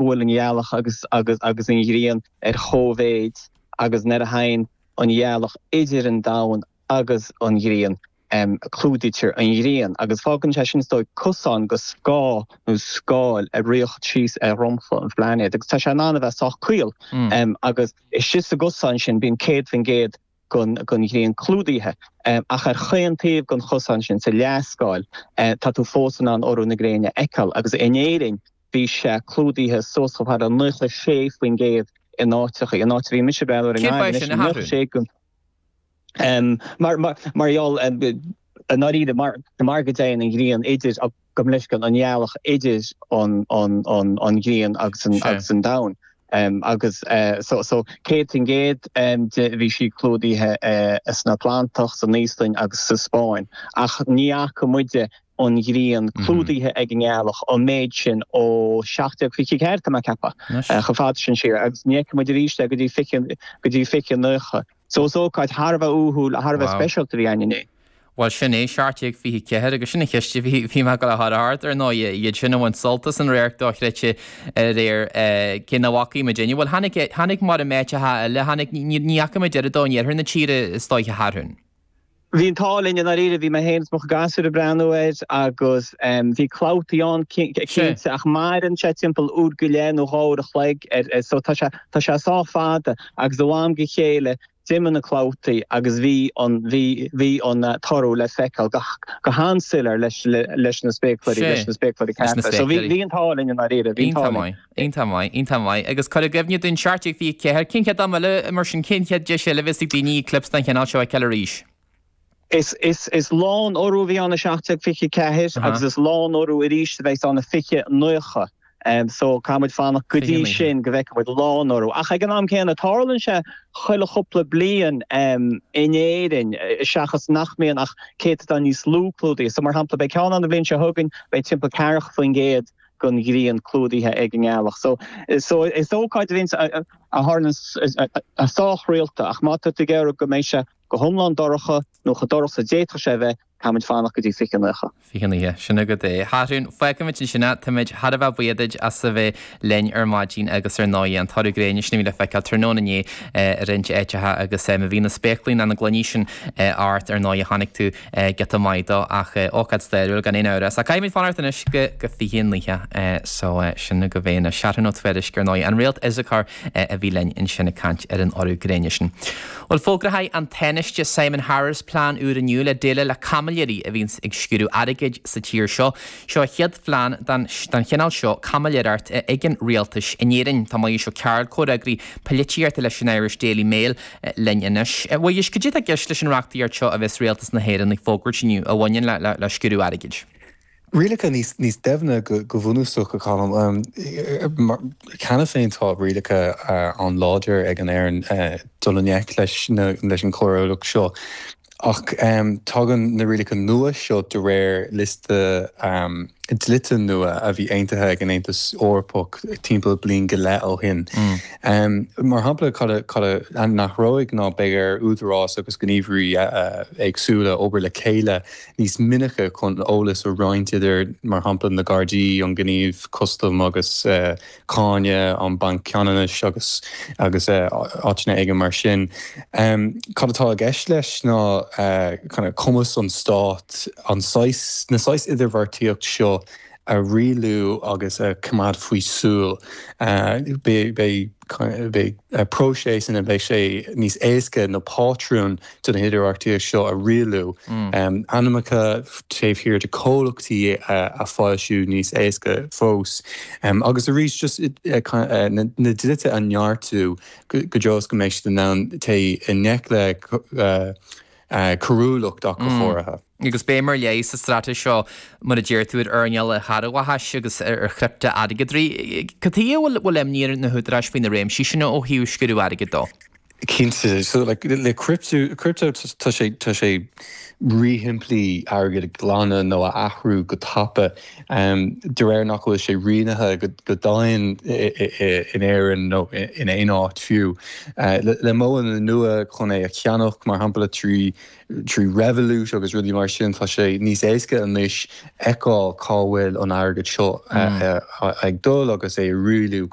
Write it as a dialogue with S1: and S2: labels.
S1: go bhfuil an ghealach agus agus agus an ghrian ar chóimhéid agus nuair a thagann an ghealach idir an domhan agus an ghrian, clúdaítear an ghrian agus fágann sé sin is dóigh cosán go scáth nó scáil ag riocht síos ar dhromchla an phláinéid agus tá sé in ann a bheith sách caol agus istigh sa gcosán sin bíonn 100% den ghrian clúdaithe ach ar chaon taobh den chosán sin sa leathscáil tá tú fós in ann urú na gréine a fheiceáil agus in Éirinn bhí sé clúdaithe suas chomh fada le 96% in áiteacha, in áit a bhí mise ag breathnú air i nGaillimh anois 96 Mar gheall, i ndáiríre, mar go dtéann an ghrian idir, gabh mo leithscéal, an ghealach idir an ghrian agus an domhan. Agus so 100% de bhí sí clúdaithe san Atlantach, san Íoslainn agus sa Spáinn. Ach ní fhaca muide an ghrian clúdaithe ag an ngealach an méid sin ó 1724, tá mé ag ceapadh, chomh fada sin siar, agus ní fheicfidh muid arís é go dtí go dtí 2090. So is ócáid thar a bheith uathúil, thar a bheith speisialta a bhí ann inné.
S2: Bhuel, sin é, 1724, agus sin an cheist a bhí, bhí mé ag dul a chur ort, ar ndóigh, iad sin a bhain sult as an radharc dochreidte aréir, cé nach bhfacaigh muidinne. Bhuel, tháinig, tháinig mar in áiteacha eile, tháinig, ní, ní fhaca muid oiread dó in iarthar na tíre, is dóiche, a Sheathrúin.
S1: Bhí an t-ádh linn i ndáiríre, bhí mé féin is mo chuid gasúr ag breathnú air agus bhí clabhtaí ann cinnte ach maireann sé timpeall uair go leith nó 2 uair a chloig so tá sé tá sé sách fada agus ó am go chéile d'imigh na clabhtaí agus bhí an bhí bhí an t-urú le feiceáil go go han-soiléir leis leis na spéacláirí leis na spéacláirí cearta. So bhí bhí an t-ádh linn i ndáiríre, bhí an t-ádh linn.
S2: Iontach maith, iontach maith. Agus cuir i gcuimhne dúinn, 1724, cén chéad am eile, mar sin, cén chéad deis eile a bheas ag daoine eclipse den chineál seo a fheiceáil arís?
S1: Is, is, is lánurú a bhí ann i 1724 agus is lánurú arís a bheas ann i 2090. So caithfidh muid fanacht go dtí sin go bhfeicfidh muid lánurú. Ach ag an am céanna, tarlaíonn sé chuile chúpla bliain in Éirinn, seachas nach mbíonn ach céatadán níos lú clúdaithe. So mar shampla, beidh ceann ann an bhliain seo chugainn, beidh timpeall ceathracha %. den ghrian clúdaithe ag an ngealach. So, so is ócáid a bhíonns, a tharlaíonn sách rialta ach má tá tú ag iarraidh go mbeidh sé go hiomlán dorcha nó chomh dorcha is a d'fhéadfadh sé a bheith, caithfimid fanacht go dtí 2090.
S2: 2090, sin agat é. A Sheathrúin, fágfaimid ansin é. Táimid thar a bheith buíoch duit as a bheith linn ar maidin agus ar ndóigh an t-urú gréine sin a bhí le feiceáil tráthnóna inné i roinnt áiteacha agus má bhí na spéaclaí ná na gloiní sin ort ar ndóigh chonaic tú giota maith dó ach ócáid stairiúil gan aon amhras. Ach caithfimid fanacht anois go go 2090 so sin agaibh é anois. Seathrún Ó Tuairisg ar ndóigh, an réalt Issachar a bhí linn ansin ag caint ar an urú gréine sin. Bhuel fógróidh an Tánaiste Simon Harris plean úr inniu le déileáil le caimiléirí a bhíonns ag sciúradh airgid sa tír seo. Seo a chéad phlean den chineál seo caimiléireacht ag an rialtas in Éirinn. Tá Muiris Ó Cearúil, comhfhreagraí polaitíochta leis an Irish Daily Mail, linn anois. A Mhuiris, cad é atá i gceist leis an reachtaíocht seo a bheas Rialtas na hÉireann ag fógairt inniu a bhaineann le sciúradh airgid?
S3: Rialacha níos doimhne go bunúsach, a Cholm. Cheana féin tá rialacha an-láidir ag an Éirinn dul i ngleic leis an choiriúlacht seo. Ach tagann na rialacha nua seo de réir liosta dlíthe nua a bhí aontaithe ag an Aontas Eorpach timpeall bliain go leith ó shin. Mar shampla, cad a n-athróidh ná beidh ar údaráis agus gníomhairí éagsúla obair le chéile níos minice chun eolas a roinnt idir, mar shampla, na Gardaí, an Gníomh Custaim agus Cáin, an Banc Ceannais agus agus áiteanna éigin mar sin. Cad atá i gceist leis ná kind of cumas an stáit an saghas, na saghas idirbheartaíocht seo a rialú agus a choimeád faoi súil. Beidh beidh próiseas ina mbeidh sé níos éasca na pátrúin den idirbheartaíocht seo a rialú, ainmneacha taobh thiar de chomhlachtaí a foilsiú níos éasca fós, agus arís just na dlíthe a neartú go dtreo is go mbeidh siad in ann téigh i ngleic le coiriúlacht ach go háirithe.
S2: Agus béim ar leith sa straitéis seo, mar a deir tú, ar earnáil an charrabhachais agus ar chriptea-airgeadraí. Cad chuige a bhfuil imní ar na húdaráis faoi na réimsí sin ó thaobh sciúradh airgid dó?
S3: Cinnte. So like le crypto crypto tá sé tá sé ríshimplí airgead a ghlanadh nó a athrú go tapa de réir nach bhfuil sé rianaithe go domhain in Éirinn nó in aon áit fiú. Le modhanna nua chun é a cheannach, mar shampla trí trí Revolut agus rudaí mar sin, tá sé níos éasca anois fheiceáil cá bhfuil an airgead seo ag dul agus é a rialú.